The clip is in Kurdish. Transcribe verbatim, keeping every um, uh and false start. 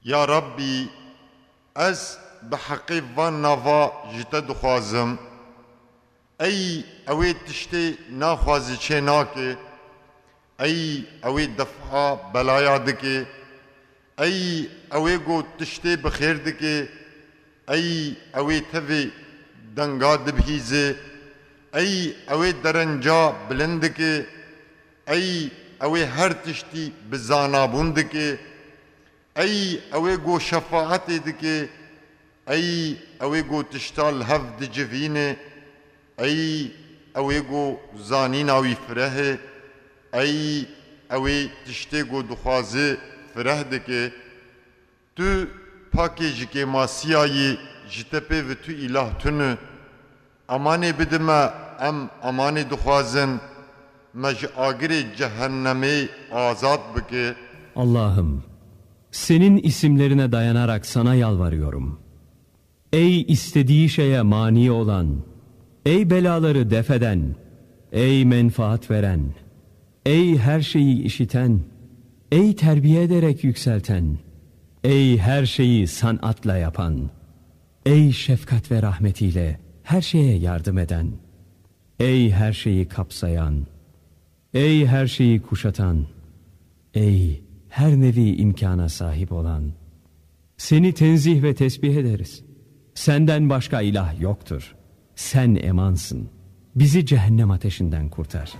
Ya Rabbî, ez bi heqê van nava ji te dixwazim. Ey ew ê tiştê naxwazî çê nake, ey ew ê defa belaya dike, ey ew ê ku tiştê bi xêr dike, ey ew ê tevê denga dibihîze, ey ew ê derenca bilind dike, ey ew ê her tiştî bi zanabûn dike, ey ew ê ku şefaetê dike, ey ew ê ku tişta li hev dicivîne, ey ew ê ku zanîna wî fireh e, ey ew ê tiştê ku dixwaze fireh dike. Tu pakê ji kêmasiya yî, ji te pê ve tu îlah tune. Emanê bide me, em emanê dixwazin, me ji agirê cehennemê azad bike. Allah'ım, senin isimlerine dayanarak sana yalvarıyorum. Ey istediği şeye mani olan, ey belaları def eden, ey menfaat veren, ey her şeyi işiten, ey terbiye ederek yükselten, ey her şeyi sanatla yapan, ey şefkat ve rahmetiyle her şeye yardım eden, ey her şeyi kapsayan, ey her şeyi kuşatan, ey her nevi imkana sahip olan. Seni tenzih ve tesbih ederiz. Senden başka ilah yoktur. Sen emansın. Bizi cehennem ateşinden kurtar.